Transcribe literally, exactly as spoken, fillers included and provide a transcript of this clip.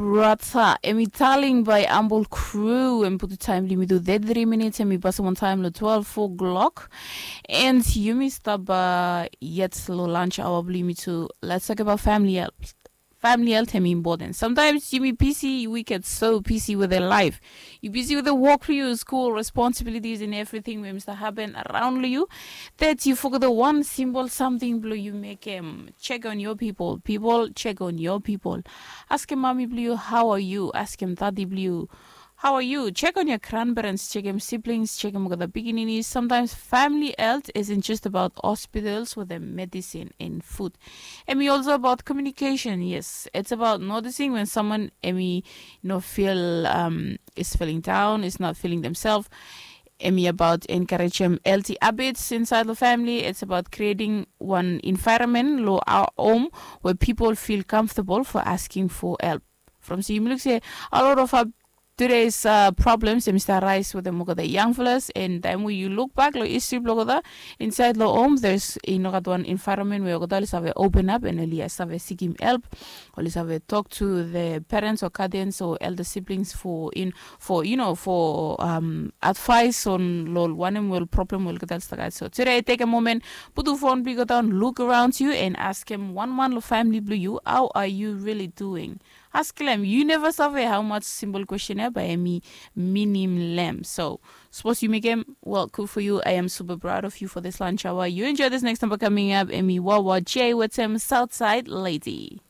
Brata, em i taling bai ambol kru em putu taim blimi tu thirty-three minutes em i pasim on taim lo twelve o'clock. And yumi stap uh, yet lo lunch hour blimi tu. Let's talk about family health. Family health em important. Sometimes yumi busy, we get so busy with their life. You busy with the work for you, school responsibilities and everything wey must happen around you. That you forget the one simple something blue you make him check on your people. People check on your people. Ask him mommy blue, how are you? Ask him daddy blue. How are you? Check on your grandparents, check him siblings, check him with the beginning. Sometimes family health isn't just about hospitals with the medicine and food. Emi also about communication. Yes, it's about noticing when someone emi no feel um, is feeling down, is not feeling themselves. Emi about encourage them healthy habits inside the family. It's about creating one environment lo our home where people feel comfortable for asking for help. From si yumi look say a lot of our today's uh, problems dem start rise with them the young fellas and then when you look back lo history blog the inside lo home there's i no gat one environment where ogoda oli save open up and oli save seek him help, oli save talk to the parents or guardians or elder siblings for in for you know for um, advice on lo wanem wel problem wel ogoda oli start. So today take a moment, put your phone big down, look around you and ask him one man lo family blue you, how are you really doing? Ask him. You never save how much simple question eh, by emi minim lem. So suppose you make him well, cool for you. I am super proud of you for this lunch hour. You enjoy this next number coming up. Emi Wawa J with him Southside Lady.